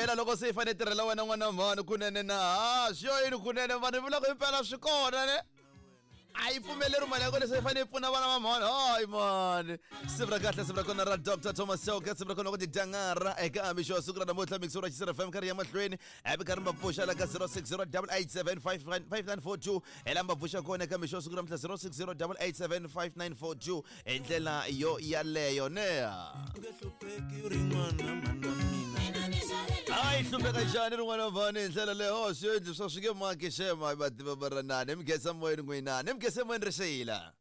Phela loko se yi fanele tirhela wena n'wana mhani kunene na ha swi yo yini kunene vanhu vula ku impela swi kona ne a yi pfumeleri mali ya kona se yi fanele yi pfuna vana va mhani hayi mani siku ra kahle siku ra kona ra Dr Thomas Chauke siku ra kona ku tidyangara eka mixo wa siku ra namuntlha mixo ra Xisera FM karhi ya mahlweni happy karhi ma pfuxa la ka 0608875942 hi lama pfuxa kona eka mixo wa siku ra namuntlha 0608875942 hi ndlela yo yaleyo ne hayi hlupheka njhani rin'wana mhani hi ndlela leyo oh, swi endli swa swi nge maki xema vativa varanani mi khensa moyeni n'wina ni mi khensa moyeni ri xeyila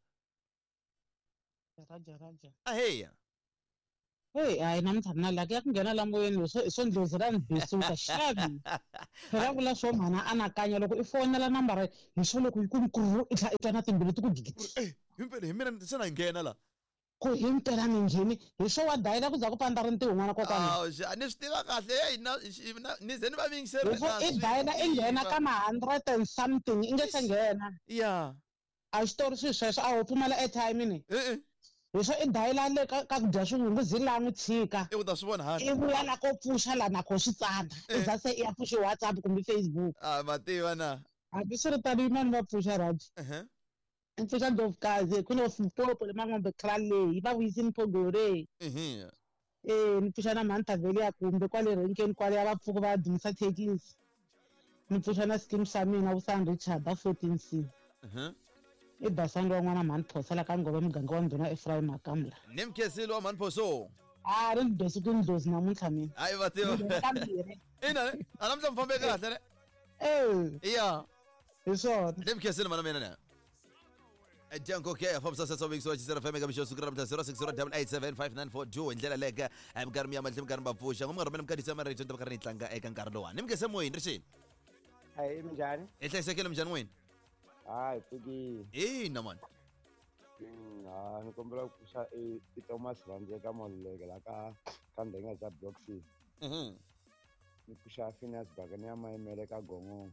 Raja raja. Aheya. Hey, hayi namuntlha mina la ya ku nghena la moyeni swo ndlozi ra ni bisuka xavi. Phela vula swo mhana anakanya loko i fonela nambara hi swo loko yi ku nkuru i tlha i twa na timbilu ti ku gigiti. Eh, himpela hi mina xana hi nghena la Ku himpela ni ngheni hi swo wa dayila ku za ku pandza rintiho n'wana kokwana. Awu, xa, ni swi tiva kahle hey ni ze ni va yingiseri Hi swo i dayila i nghena ka ma hundred and something i nge se nghena. Ya. A xitori swi sweswo a ho pfumala airtime ni. E-e. Hi swo i dayila le ka ku dya swivungu zi la n'wi tshika. I u ta swi vona hani. I vuya la ko pfuxa la na kho swi tsana. I za se i ya pfuxa WhatsApp kumbe Facebook. A ma tiva na. Hambi swi ri tano yimani va pfuxa Raji. I pfuxa Ndlovukazi ku no Limpopo le Mangombe Krale va vuyisini Phogore. Eh ni pfuxa na mhani Thaveli ya kumbe kwale renkeni kwale ya va pfuka va dumisa thekisi. Ni pfuxa na scheme xa mina Vusan Richard a 14C. I basani wa n'wana mhani Phosa la ka Ngove muganga wa ndhuna Ephraim Makamla. Ni mkhensile wa mhani Phoso. A ri ni dosi ku ndlozi namuntlha mina. Hayi va tiva. Ina ne? A namuntlha mi fambe kahle ne? Eh. Ya. Hi swona. Ni mkhensile mana mina ne. Dyanko ke fambisa sesa weeks wa Xisera FM eka mixo siku ra namuntlha 0608875942 hi ndlela leke minkarhi mi ya mahlweni minkarhi mi va pfuxa ngo mi nga rhumela mikadisa marito ni ta va karhi ni yi tlanga eka nkarhi lowani ni mi khense moyeni ri xini Hayi minjhani? Hi hlayisekile minjhani n'wini? Hayi pfukile. Ina mani. Ha ni kombela ku pfuxa i Thomas Rhandzeka Maluleke la ka Ndhenga bya Block C. Ni pfuxa Phineas Bakani ya Mayimele ka Gongongo.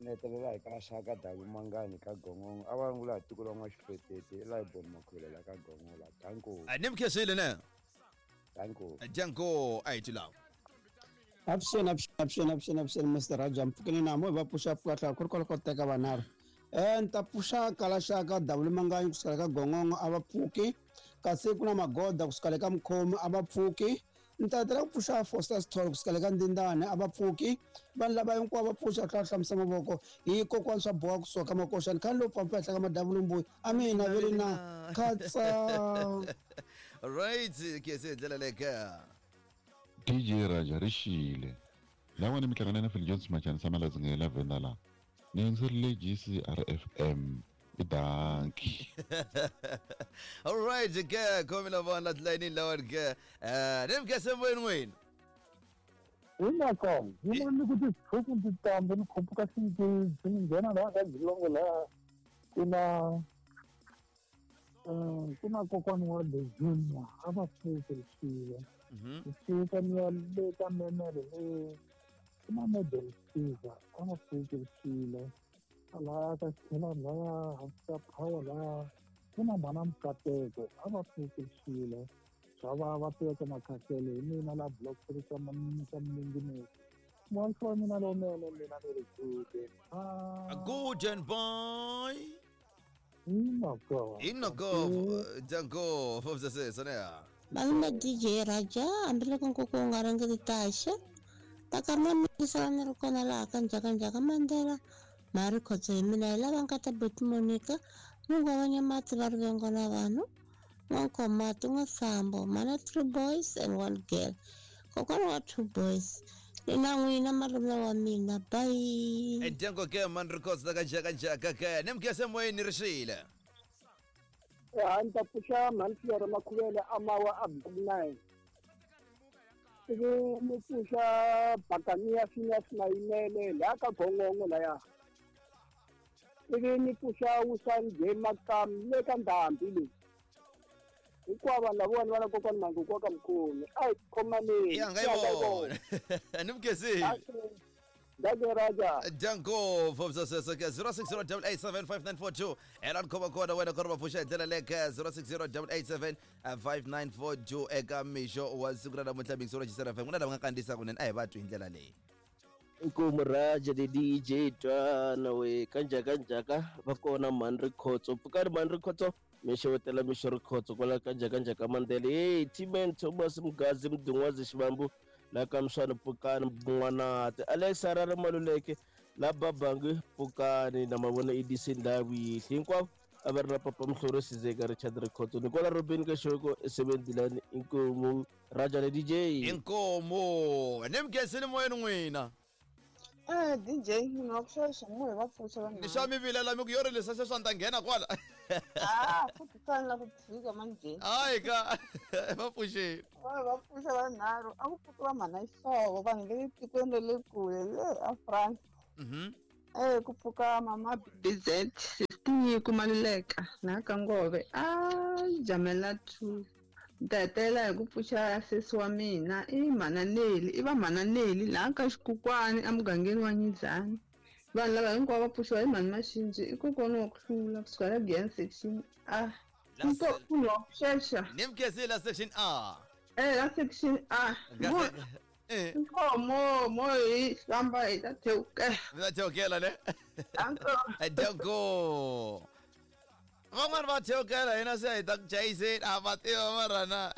Ni hetelela hi ka Xaka Davi Mangani ka Gongongo. A va rungula hi tiko ra N'waxifetete i Laibon Makhwele la ka Gongongo la. Danko. Ni mi khensile ne? Danko. Danko a hi tilawa. Avuxeni avuxeni avuxeni avuxeni avuxeni Mr Raja mpfukeni na mo hi va pfuxa pfuka tlhela ku ri kwala ko teka vanharhu ni ta pfuxa kalaxaka davula manganyi kusukela ka gongongo a va pfuki kasi ku na magoda kusukela ka mukhomi a va pfuki ni ta hetelela ku pfuxa Foster Sithole kusukela ka Ndindane a va pfuki vanhu lava hinkwavo va pfuxa tlhela hlamusa mavoko hi kokwani swa boha kusuka ka makoxani khani lowu pfampa henhla ka madavulumbuyi a mina veli na khatsa. Right ke se ndlela leka. DJ Raja ri xile. Lawani mi hlangana na Phil Jones Machani Samaladzi nge la Venda la. Ni yingiserile GCRFM. I danki. All right ke khomi la vona tilayinini lawani ke. Ni mi khense moyeni n'wini. Hinako, yin'wana ni ku titshuku ndzi tamba ni khuphuka xingezi ni nghena laha ka Jilongo laha ku na ku na kokwana wa the junior a va pfuke swilo ni fika ni ya le ka memele le ku na medel fever a va pfuke swilo laya ka xikhelani laya hansi ka power laya ku na mhana mukateko a va pfuke swilo swa va va teka makhasele hi mina la block three ka ka mninginisi mwansi wa mina lowunene mina ni ri good and good and boy Inoko. Inoko, Django, fambisa sesa ne. Malume DJ Raja, hambiloko nkuku wu nga ringeti taxa, ta kama mi sala ni ri kona laha ka Njhakanjhaka Mandela, Mhari Khotso hi mina hi lava nkata Buti Monica, Mungwavanya Mati va rivengo na vanhu, N'wankomati N'wasambo, mhana three boys and one girl, kokwana wa two boys. Ni na n'wina malume wa mina, bye. Django ke man records ta ka Njhakanjhaka ke, ni mi khense moyeni ri xile. Ha ni ta pfuxa mhani Siyara Makhuvele a mawa a block nine ivi ni pfuxa Bakaniya Phineas Mayimele laha ka Gongongo laya ivi ni pfuxa Wusani J Makamu le ka Ndhambi leyi hinkwavo vanhu lavawani va na kokwani Manguku wa ka Mkhumi a hi khomaneni Ya nga yi vona. Ni mi khensile. Danke Raja. Danko fobsaseseke 0608875942 ela ni khoma kona wena ku ri va pfuxa hi ndlela leyo ka 0608875942 eka mixo wa siku ra namuntlha mixo ra Gisela FM ku na lava nga kandziyisa kunene a hi va twi hi ndlela leyi. Inkomu Raja the DJ twana we kanjaka njaka va kona mhani Rikhotso pfukani mhani Rikhotso mi xewetela mixo Rikhotso kwala kanjaka njaka Mandela hey T-Man Thomas Mgazi Mdungwazi Xivambu la ka Mswani pfukani N'wanati Alex Harare Maluleke la Babangi pfukani na mavona EDC ndhawu yihle hinkwavo a va ri na Papa Mhlori Sizeka Richard Rikhotso ni kwala Robin ka Xoko esebenzilani inkomu Raja le DJ. Inkomu ni mkhensini moyeni n'wina. DJ ni wa ku xaxa mo hi va pfuxa vanhu. Ni xa mi vilela mi ku yo ri leswi sweswi a ni ta nghena kwala. Ah, futhi tsani la ku tshika manje. Hayi ka va pfuxeni. Va pfuxa vanharhu a ku pfuki va mhana Xihlovo vanhu le tikweni ra le kule le a France. Ku pfuka mama BZ Tinyiko Maluleka na ka Ngove a Jamela 2. Ni ta hetelela hi ku pfuxa sesi wa mina i mhana Neli i va mhana Neli laha ka Xikukwani emugangeni wa Nyizani. Vanhu lava hinkwavo va pfuxiwa hi mhani Maxinji i kokwana wa ku hlula kusuka la Giyani section A. Munhu wa ku xexa. Ni mkhensile la section A. La section A. Inkomo mo hi famba hi ta thewukela. Mi ta thewukela ne? Danko. Van'wani va thewukela hina se hi ta ku chayiseni a va tiva mara na.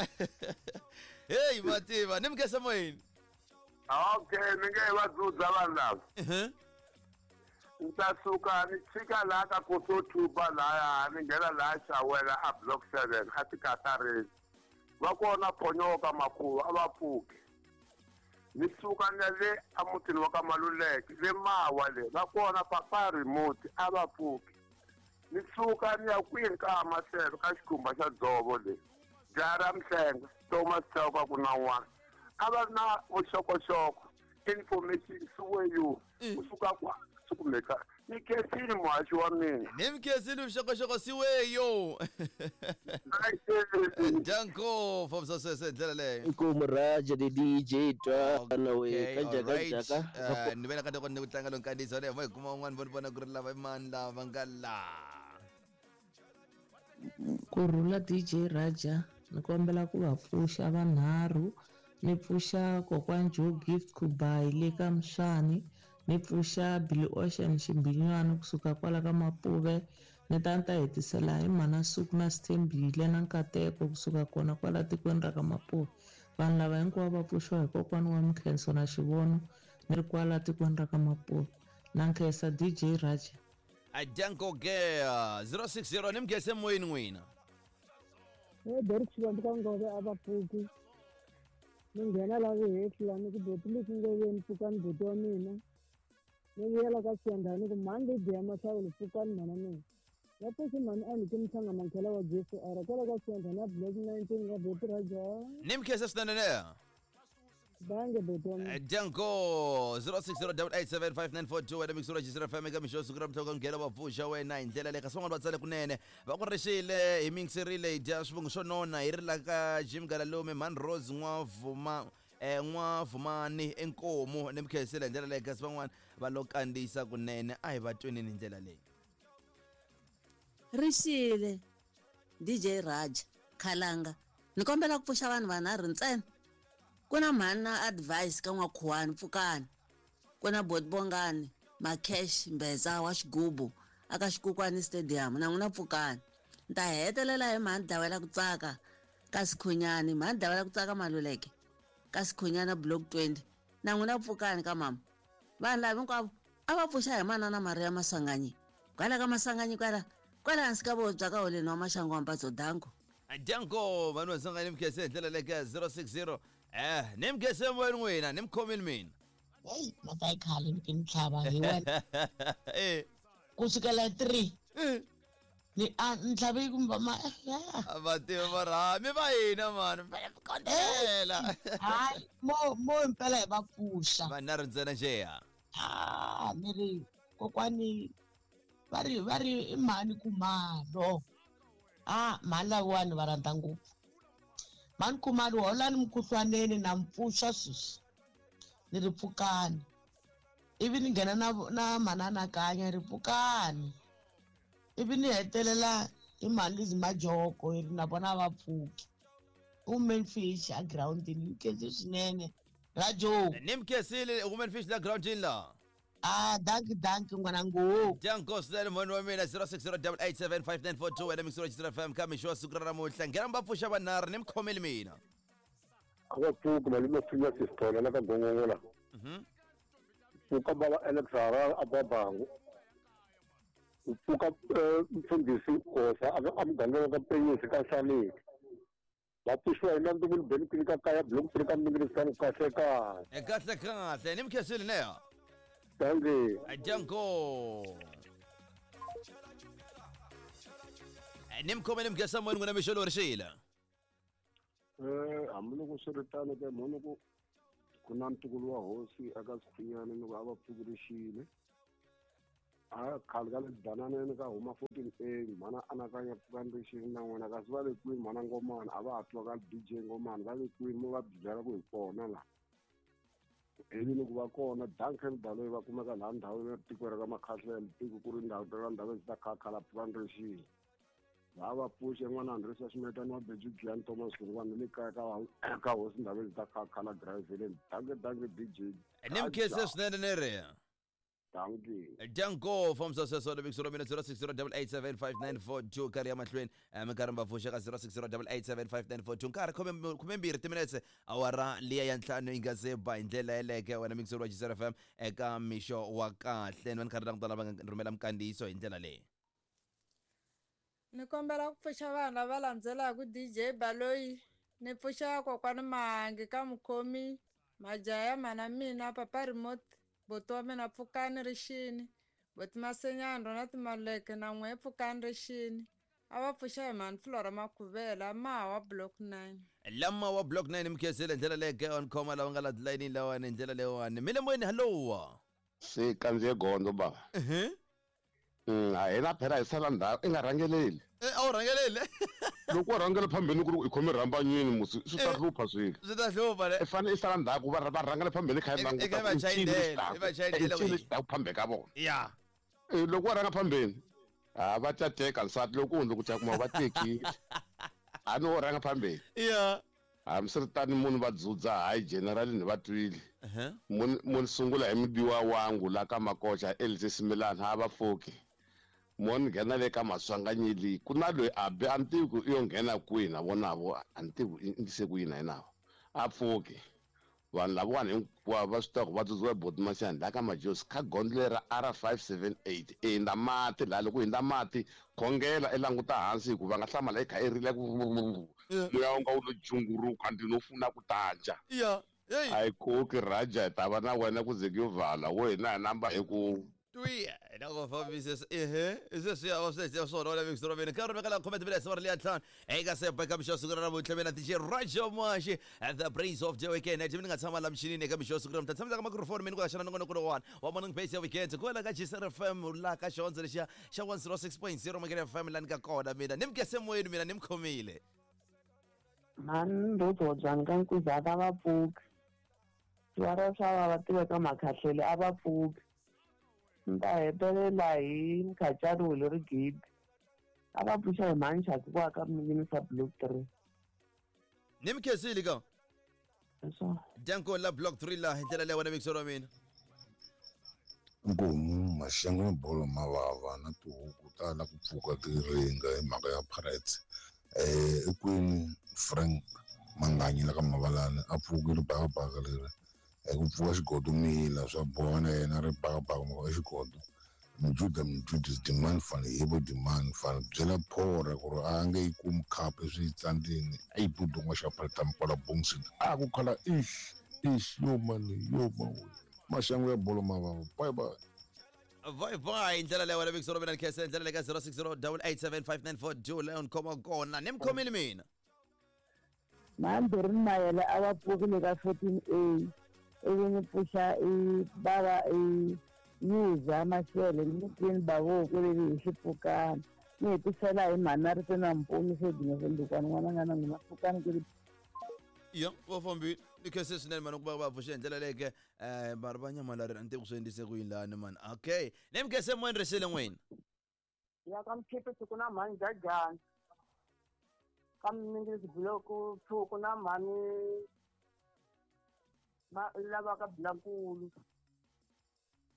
Hey va tiva ni mukhensa moyeni. Okay, ni nge va dzudza vanhu lava. Ni ta suka ni chika laha ka Kosothupa laya ni nghena laha Xawela a block 7 a tikatareni. Va kona Phonyoka Makhuva a va pfuki. Ni suka ni ya le emutini wa ka Maluleke le Mawa le va kona Papa Remote a va pfuki. Ni suka ni ya kwini ka Maseve ka xikhumba xa dzovo le jaha ra Mhlenga Thomas Chauka ku na n'wana a va ri na vuxokoxoko information siweyo kusuka kwa sikumeka ni khensile muhaxi wa mina. Ni mi khensile vuxokoxoko siweyo. Danko fambisa sweswo hi ndlela leyo. Inkomu Raja the DJ twana we kanjaka njaka. Ni vena ka loko ni ku tlanga lo nkandziyiso leyo mo hi kuma un'wana vo ni vona ku ri lava i mani lava nga laha. Kurhula DJ Raja ni kombela ku va pfuxa vanharhu ni pfuxa kokwani Joe Gift Kubayi le ka Mswani ni pfuxa Billy Ocean Ximbinywana kusuka kwala ka Mapuve ni ta ni ta hetisela hi mhana Suku na Sithembile na Nkateko kusuka kona kwala tikweni ra ka Mapuve. Vanhu lava hinkwavo va pfuxiwa hi kokwana wa Mkhenso na Xivono ni ri kwala tikweni ra ka Mapuve. Na nkhensa DJ Raja. Adanko ke 060 ni mkhese moyeni n'wina. Derek Xivambu ka Ngove a va pfuki. Ni nghena la vuhehla ni ku boti lexi ngoveni pfukani boti wa mina. Ni vuyela ka Xiyandhani ku mhani leyi biya mahlawulo pfukani mhana mina. Va pfuxi mhani a ni ki mhlanga mankhela wa Jesu ara kwala ka Xiyandhani a block 19 ka boti Raja. Ni mkhese swinene ne. Danke boti wa mina. Danko 0608875942 wena mixura Gisela FM eka mixo siku ra mtlhoko nghena va pfuxa wena hi ndlela leyi kasi van'wana va tsale kunene va ku rixile hi mingiserile hi dya swivongo swo nona hi ri la ka Jim Galalume mhani Rose N'wavuma N'wavumani Inkomu ni mikhensile hi ndlela leyi kasi van'wana va lo kandziyisa kunene a hi va tweneni hi ndlela leyi. Rixile DJ Raja Khalanga ni kombela ku pfuxa vanhu vanharhu ntsena. Ku na mhani na advice ka N'wakhuwani pfukani ku na Boti Bongani Makesh Mbeza wa Xigubu aka Xikukwani Stadium na n'wina pfukani. Ni ta hetelela hi mhani Dawela ku tsaka ka Sikhunyani mhani Dawela ku tsaka Maluleke ka Sikhunyana block 20 na n'wina pfukani ka mama. Vanhu lava hinkwavo a va pfuxa hi manana Maria Masanganyi kwala ka Masanganyi kwala kwala hansi ka vobya ka holeni wa Maxangu wa Mpatso Danko. Danko vanhu va Sangani mkhese hi ndlela leyi ka 060 ni mkhese moyeni n'wina ni mkhomile mina. Hey, mhaka yi khale ni ni tlhava hi wena. Kusukela 3. Ni a ni tlhave kumbe ma va tiva mara mi va hina mani kondela. Hayi mo impela hi va pfuxa. Vanharhu ntsena njeya. Ah, ni ri kokwani va ri i mhani Khumalo. Ah, mhani lawani va rhandza ngopfu. Mhani Khumalo holani mukhuhlwaneni na mpfuxa sweswi. Ni ri pfukani. Ivi ni nghena na manana kanya ri pfukani. Ivi ni hetelela hi mhani Majoko hi ri na vona va pfuki. Women fish a groundini ni khensi swinene. Rajo. Ni mi khensile women fish la groundini la. Ah, danki danki n'wana ngopfu. Danko swinene mhani wa mina 0608875942 wena mixo wa FM ka mixo wa siku ra namuntlha. Nghena mi va pfuxa vanharhu ni mi khomeli mina. A va pfuki malume Phineas Sithole la ka Gongongo la. Pfuka bava Alex Harare a Babangu. Pfuka mfundhisi Khosa a muganga wa ka Penyisi ka Nhlaneki. Va pfuxiwa hi Nandumuni Benkwini ka kaya block 3 ka Mingirisani kahle kahle. Kahle kahle ni mi khensile neya. Dankie. Danko. Ni mi khomele mi khensa moyeni n'wina mixo lowu ri xile. Hambiloko swi ri tano ke mhani ku na ntukulu wa hosi aka Sikhunyana loko a va pfukurixile. A khale ka le Dananeni ka huma 14A mhana anakanya pfukani rixile na n'wina kasi va le kwini mhana Ngomana a va ha twa ka DJ Ngomana va le kwini mo va byela ku hi kona la. Ivi loko va kona Duncan Baloyi va kumeka laha ndhawini ya tiko ra ka Makhahlele tiko ku ri ndhawu ra ndhawu ta khakhala pfukani rixile. Va va pfuxe n'wana Andresa Ximetani wa Beju Giyani Thomas Hlungwane le kaya ka hosi ndhawu ta khakhala Driveleni. Danke danke DJ. Ni mi khense swinene ni ri. Dankie. Danko fambisa sweswo le mixo mina 0608875942 karhi ya mahlweni minkarhi mi va pfuxa ka 0608875942 nkarhi 12 timinetse awara liya ya 5 yi nga se ba hi ndlela yeleke wena mixo wa Gisela FM eka mixo wa kahle ni va ni karhi langutana va nga rhumela minkandziyiso hi ndlela leyi. Ni kombela ku pfuxa vanhu lava landzelaka DJ Baloyi ni pfuxa kokwani Mahangi ka mukhomi Majaya mana mina papa remote boti wa mina pfukani rixini boti Masenyani rona timaleke na n'we pfukani rixini a va pfuxa hi mhani Flora Makhuvela mawa block 9. Lama wa block 9 mkhensile ndlela leyi on khoma lava nga la line lawani ndlela leyiwani mi le moyeni hello. Se kandziye gondzo baba. A hina phela hi sala ndhawu i nga rhangeleli. A wu rhangeleli. Loko u rhangela phambeni ku ri i khome rhambanyini musi swi ta hlupha swilo. Swi ta hlupha le. I fanele i sala ndzhaku va rhangela phambeni kha i languta. Va chayindela phambe ka vona. Ya. Loko wa rhanga phambeni a va ta teka nsati loko u hundza ku ta kuma va tekile. A no rhanga phambeni. Ya. Hambiswiritano munhu va dzudza hayi general ni va twile. Munhu sungula hi mubiwa wangu la ka Makocha Elise Similana a va pfuki. Munhu nghena le ka Maswanganyeli ku na loyi a be a ni tivi ku i yo nghena kwihi na vona vo a ni tivi i ndlise ku yini na yena a pfuki. Vanhu lavawani hinkwavo va swi tiva ku va dzudziwa boti Masiani la ka Majosi kha gondzo leri ra R578 i hindza mati laha loko u hindza mati khongela i languta hansi hikuva va nga hlamala i kha i rila ku moya wu nga wu lo junguruka ndzi no funa ku tanja. A yi koki Raja hi ta va na wena ku ze ku yo vala wo hina hi namba hi ku twiya na ku fambisa ehe sweswi a swi swona wala mixo mina nkarhi veka la comment minutes wa liya ntlhanu eka sepa eka mixo siku ra namuntlha mina DJ Raja Mashi the brains of the weekend mina nga tshama la michinini eka mixo siku ra namuntlha tshamisa ka microphone mina ku ya xana nongonoko lowani wa morning base ya weekend kwala ka Gisela FM la ka xihondzo lexiya xa 106.0 Makere FM la ni ka kona mina ni mukese moyeni mina ni mi khomile. Mhani Ndodzodzani ka Nkuzaka a va pfuki. Swiwara swa va tiveka Makhahlele a va pfuki. Ni ta hetelela hi Mkhacani Wele Rigidi. A va pfuxa hi mhani Chaki ku aka Minginisa block 3. Ni mi khensile ka. Danko la block 3 la hi ndlela leyi wena mixo wa mina. Nkomu maxangu ya bolo mavava na tihuku ta la ku pfuka ti ringa hi mhaka ya Pirates. Ekwini Frank Manganyi la ka Mavalani a pfukile bakabaka leri ku pfuka xigodo mila swa boha na yena ri bakabaka mhaka xigodo. Mjuda Mjudis demand fan hibo demand fan byela phora ku ri a nge yi kumi cup swi tsandzini a yi budunga xa palta kwala Bongsin a ku khala ish ish yo mani yo mani maxangu ya bolo mavava bye bye. Bye bye ndlela leyi wena mixo mina khese ndlela leyi ka 0608875942 leon khoma kona ni mi khomile mina. Mhani Mayele a va pfukile ka 14A ivi ni pfuxa i bava i Yuza Mashele ni Queen Bavoko leyi hi xipfukana ni hetisela hi mhani na ri se na mpumi se dina sendukwana n'wana nga na n'wina pfukani ku ri. Ya va fambile ni khense swinene mani ku va va pfuxe hi ndlela leyi ke va ri va nyamalari a ni tivi ku swi endlise ku yini lani mani. Okay, ni mi khense moyeni rixile n'wina. Ya ka Mkhipi siku na mhani Jajani. Ka Mningisi Block 2 ku na mhani ma lava ka Blankulu.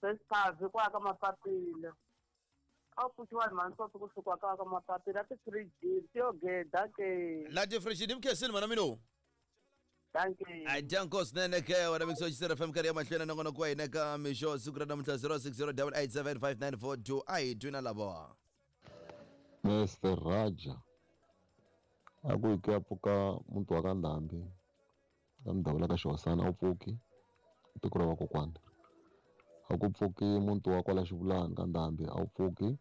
Fespavi kwa ka Mapapila. A wu pfuxiwa hi mhani Sofi kusuka ka ka Mapapila ti-fridge ti yo geda ke. La ti-fridge ni mi khensile mhana mina. Dankie. A danko swinene ke wena mixo xisera FM karhi ya mahlweni nongonoko wa hina ka mixo siku ra namuntlha 0608875942 a hi twi na lava. Mr Raja a ku yi ku ya pfuka muti wa ka Ndhambi ka Mudavula ka Xihosana a wu pfuki tiko ra vakokwana a ku pfuki muti wa kwala Xivulani ka Ndhambi a wu pfuki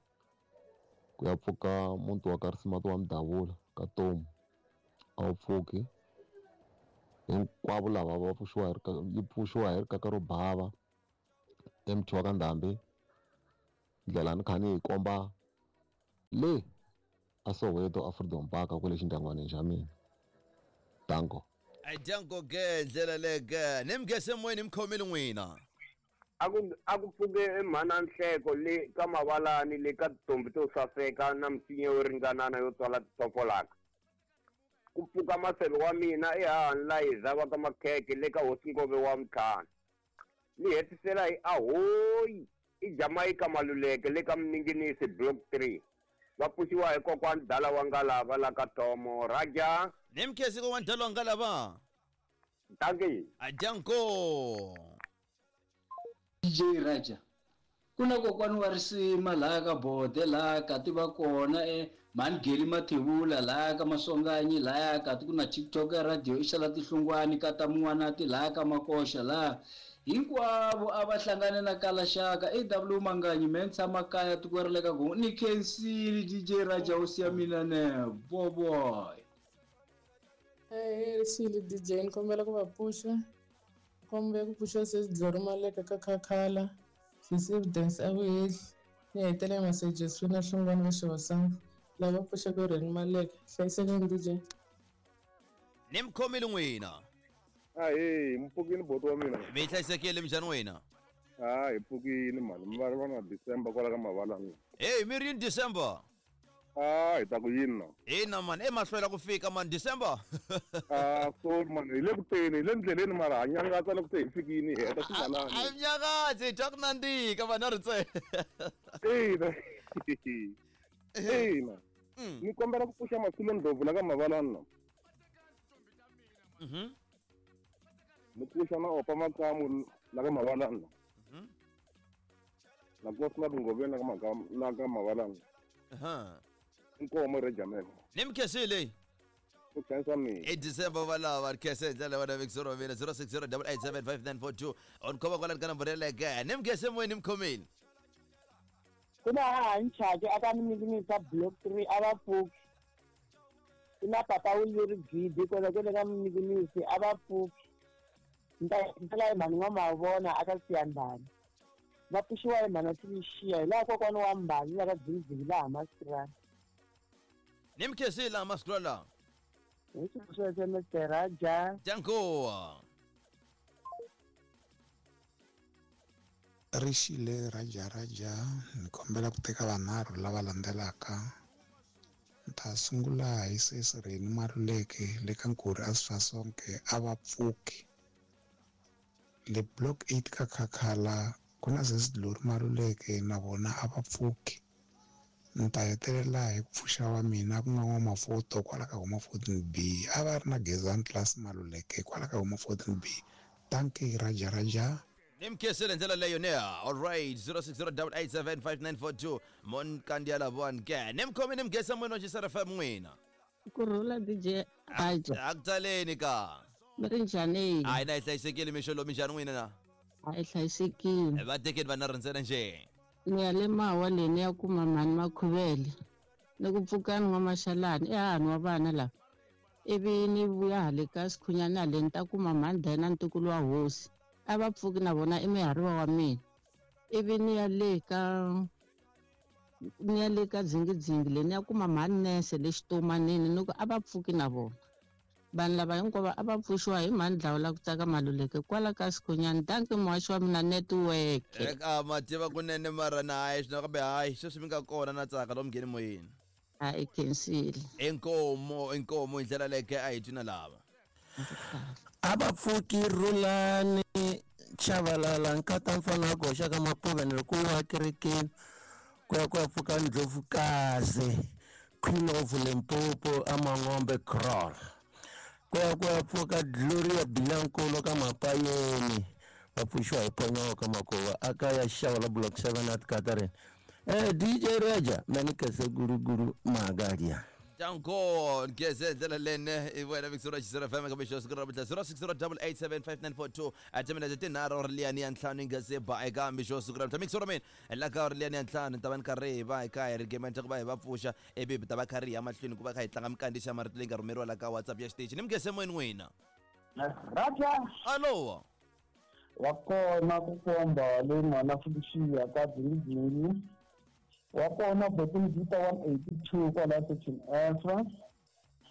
ku ya pfuka muti wa ka Risimati wa Mudavula ka Tomu a wu pfuki hinkwavo lava va pfuxiwa hi yi pfuxiwa hi rikaka ro bava MT wa ka Ndhambi ndlela ni kha ni yi komba le a Soweto a Freedom Park kwale xindyangwanini xa mina. Danko. A danko ke ndlela leyi ke ni mi gese moyeni mi khomile n'wina. A ku pfuke mhana Nhleko le ka Mavalani le ka tintombi to saseka na misinya yo ringanana yo tswala titofolaka. Ku pfuka maseve wa mina ehahani Layiza va ka Makhekhe le ka Hosi Ngove wa Mtlhana. Ni hetisela hi ahoyi i Jamaica Maluleke le ka Mninginisi Block 3. Va pfuxiwa hi kokwani Dala wa Ngalava la ka Thomo. Raja. Ni mi khensi kokwani Dala wa Ngalava. Dankie. Ajanko. DJ Raja. Ku na kokwani wa risima laha ka Bode laha ka ti va kona mhani Geli Mathebula laha ka Maswanganyi laha ka ti ku na TikTok ya radio i xala tihlungwani ka ta Mun'wanati laha ka Makoxa laha hinkwavo a va hlangane na Kalaxaka AW Manganyi me ni tshama kaya tiko ra le ka Gongo ni khensile DJ Raja hosi ya mina ne boboy. Herisile DJ ni kombela ku va pfuxa kombela ku pfuxa sesi Glory Maleka ka Khakhala sesi Evidence a Vuhehli ni hetelela messages swi na Hlungwani va Xihosana lava pfuxaka Reni Maleka hlayisekani DJ. Ni mi khomile n'wina. Ahee, mi pfukile boti wa mina. Mi hlayisekile minjhani n'wina? Ah, hi pfukile mhani, mi vulavula na December kwala ka Mavalani. Hey, mi ri yini December? Ah, hi ta ku yini na? Ina mani, e mahlwela ku fika mani December. Ah, sorry mani, hi le ku teni, hi le ndleleni mara ha nyangatsa loko se hi fikini hi heta swigalani. A mi nyangatsi, hi twa ku nandzika vanhu a ri ntsena. Ina. Ina. Ni kombela ku pfuxa Masilo Ndlovu la ka Mavalani na. Ni pfuxa na Opa Makamu la ka Mavalani na. Na Kosi na Tingoveni la ka Makamu la ka Mavalani. Inkomo Rejamela. Ni mi khensile. Ku khensa mina. I December va lava ri khense hi ndlela vana vekisoro mina 0608875942 on khoma kwalani ka nomboro yeleyo ke. Ni mi khense moyeni mi khomile. Ku na hahani Chaki a ka Mninginisa Block 3 a va pfuki. Ku na papa Wuliri Gidi kwala kwale ka Mninginisi a va pfuki. Ni ta hetisela hi mhani N'wamavona a ka Siyandhani. Va pfuxiwa hi mhani wa Timixiya hi laha kokwani wa Mbali la ka Dzingidzingi laha Masirani. Ni mi khensile laha Masirani laha. Hi sweswo Mr Raja. Danko. Rixile Raja Raja ni kombela ku teka vanharhu lava landzelaka. Ni ta sungula hi sesi Reni Maluleke le ka Nkuri a Sasonke a va pfuki. Le Block 8 ka Khakhala ku na sesi Glory Maluleke na vona a va pfuki. Ni ta hetelela hi ku pfuxa wa mina ku nga N'wamafoto kwala ka Homa 14B a va ri na Gezani Class Maluleke kwala ka Homa 14B. Dankie Raja Raja. Ni mi khensile ndlela leyo ne. All right, 0608875942 mon kandiya lavowani ke. Ni mi khomi ni mi gesa moyeni wa Xisera FM n'wina. Kurhula DJ Raja. A ku taleni ka. Mi ri njhani? Hayi na hi hlayisekile mixo lowu minjhani n'wina na? A hi hlayisekile. Va tekeni vanhu ri ntsena njhe? Ni ya le Mawa leyi ni ya kuma mhani Makhuvele. Ni ku pfukani N'wamaxalani i hahani wa vana lava. Ivi ni vuya hale ka Sikhunyana hale ni ta kuma mhani Dayana ntukulu wa hosi. A va pfuki na vona i mihariwa wa mina. Ivi ni ya le ka ni ya le ka Dzingidzingi le ni ya kuma mhani Nese le Xitomanini ni ku a va pfuki na vona. Vanhu lava hinkwavo a va pfuxiwa hi mhani Dlawula ku tsaka Maluleke kwala ka Sikhunyani. Dankie muhaxi wa mina network. Eka ma tiva kunene mara na hayi swino kambe hayi sweswi mi nga kona na tsaka lomu ngheni moyeni. A i khensile. Inkomo inkomo hi ndlela leke a hi twi na lava. A va pfuki Rhulani Chavalala nkata mfana wa goxa ka Mapuve ni ri ku wa kerekeni ku ya ku ya pfuka Ndlovukazi Queen of Limpopo a Mangombe Kraal ku ya ku ya pfuka Gloria Bilankulu ka Mapayeni va pfuxiwa hi Ponyoka Makova a ka ya xava la Block 7 at Katarin eh DJ Raja mani kese guru guru magaria Danko ngeze ndlela lene i wena Victoria Chisera FM ka mixo siku ra namuntlha 0608875942 a timinete tinharhu ri liyani ya ntlhanu yi nga se ba eka mixo siku ra namuntlha mixo ra mina la ka ri liyani ya ntlhanu ni ta va ni karhi hi va hi kha hi ri gementa ku va hi va pfuxa ivi hi ta va kha ri ya mahlweni ku va kha hi tlanga minkandziyiso ya marito leyi nga rhumeriwa la ka WhatsApp ya xitichi ni mi ngese moyeni n'wina Raja alowa wa kona ku komba leyi n'wana Felicia ka Dzingidzingi wa kona Botimvita 182 kwala section F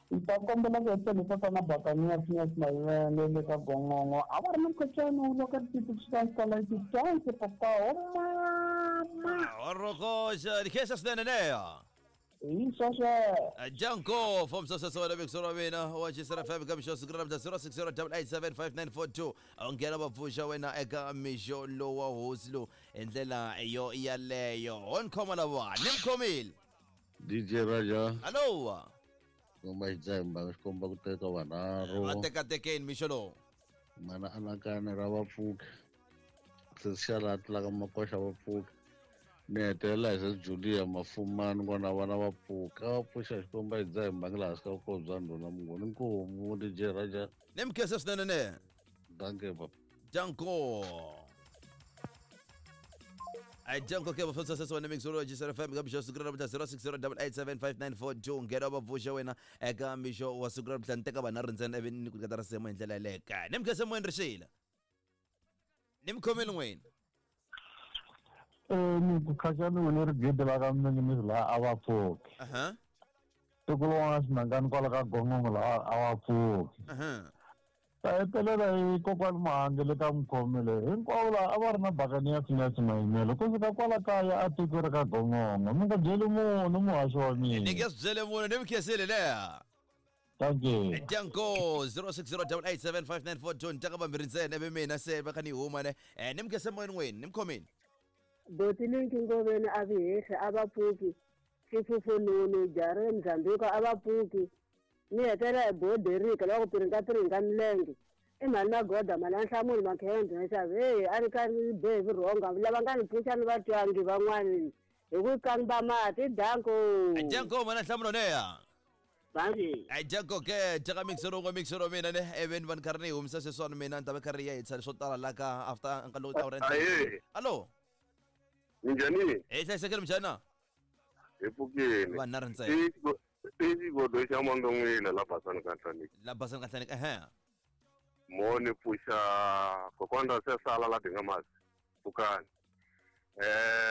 ni ta kombela ku hetelisa tatana Bakaniya Phineas Mayivele le ka Gongongo a va ri na mukhohlwani wu loka titi ku suka xikolo xitansi papa o mama Orokoxa likhensa swinene neya hi sweswo Janko from Sasa wena Victor wa mina wa Chisera FM ka mixo siku ra namuntlha 0608875942 u nghena va pfuxa wena eka mixo lowa hosi lowu hi ndlela yo yaleyo ho ni khoma lava ni mi khomile DJ Raja alowa komba xidzemba xi komba ku teka vanharhu va tekatekeni mixo lowu mana anakanya ra vapfuki se xa laha tlulaka makoxa vapfuki ni hetelela hi se Julia Mafumani n'wana vana va pfuka va pfuxa xikomba hi dzaha hi mbangi laha hansi ka vukosi bya ndhuna mungoni nkomu DJ Raja ni mi khensa swinene ne danke papa Danko Ai Janko ke bafotsa sese wena mixolo wa FM ka mixo siku ra namuntlha 0608875942 nghena va pfuxa wena eka mixo wa siku ra namuntlha ni teka vanharhu ntsena ivi ni ku nyiketa risimu hi ndlela yaleyo kaya ni mi khensa moyeni rixila ni mi khomeli n'wina Ni ku khaxani wena ri gede la ka minginisi laha a va pfuki aha tiko lowun'wana xinangani kwala ka gongongo laha a va pfuki aha ta hetelela hi kokwani Mahange le ka Mukhomele hinkwavo laha a va ri na bakani ya Phineas Mayimele ku fika kwala kaya a tiko ri ka gongongo mi nga byeli munhu muhaxi wa ni mina nge swi byele munhu ni mi khensile leha thank you Danko 0608875942 ni teka vambirhi ntsena ivi mina se va kha ni huma ne ni mi khense moyeni n'wini ni mi khomile Boti Linki Ngoveni a vi hehli a va pfuki Xifufununu Jare Mzambiko a va pfuki ni hetelela hi Boderika lava ku piringa piringa milenge i mhani Magoda mhani ya Nhlamulo Makhende na xavi heyi a ri karhi ni be hi vurhonga lava nga ni pfuxa ni va twangi van'wani hi ku kamba mati danko Danko mhani ya Nhlamulo neya Bangi. Ai Janko ke teka mixer wun'we mixer wa mina ne ivi ni va ni karhi ni yi humisa sweswiwani mina ni ta va karhi ya hitisa leswo tala la ka after nkarhi lowu ta Ahee. Alo Minjhani? Hi hlayisekile minjhani na? Hi pfukile. Vanharhu ntsena. I xigodo xa Mandon'wile la Basani ka Nhlaniki. La Basani ka Nhlaniki ehe. Mo ni pfuxa kokwana ra Sesala la Dingamasi pfukani.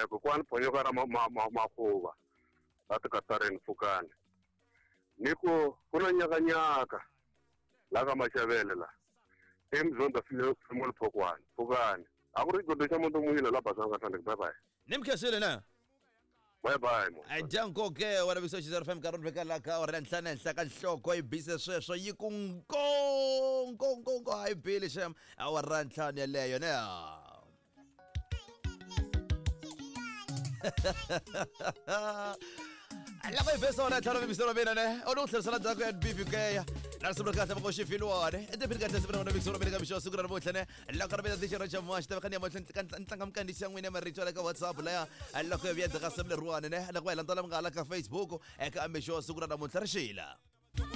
Kokwani Phonyoka ra Makhuva la Tikatarini pfukani. Ni ku ku na nyakanyaka la ka Maxavele la. I Mzonda Simon Phokwani pfukani. A ku ri xigodo xa Mandon'wile la Basani ka Nhlaniki. Bye bye. Ni mi khensile na? Bye bye mo. Janko ke wena Victor Chisera FM nkarhi veka la ka awara ya ntlhanu ehenhla ka nhloko yi bise sweswo yi ku nko nko nko nko a yi bile xem awara ya ntlhanu yeleyo ne loko yi bese wona ntlhanu mixero mina ne u ni ku tlherisela ndzhaku ya bbk na risimu ra kahle va xifilwane i tiphini kahle siku ra wena mixero mina ka mixo siku ra namuntlha ne loko ri mina tixero xa muhaxi ta va kha ni ya mahlweni ni tlanga minkandziyiso ya n'wina ya marito ya le ka WhatsApp laya loko ya vuya ndzhaku ka simu leriwani ne loko va hi landzela mi nga hala ka Facebook eka mixo siku ra namuntlha ri xila.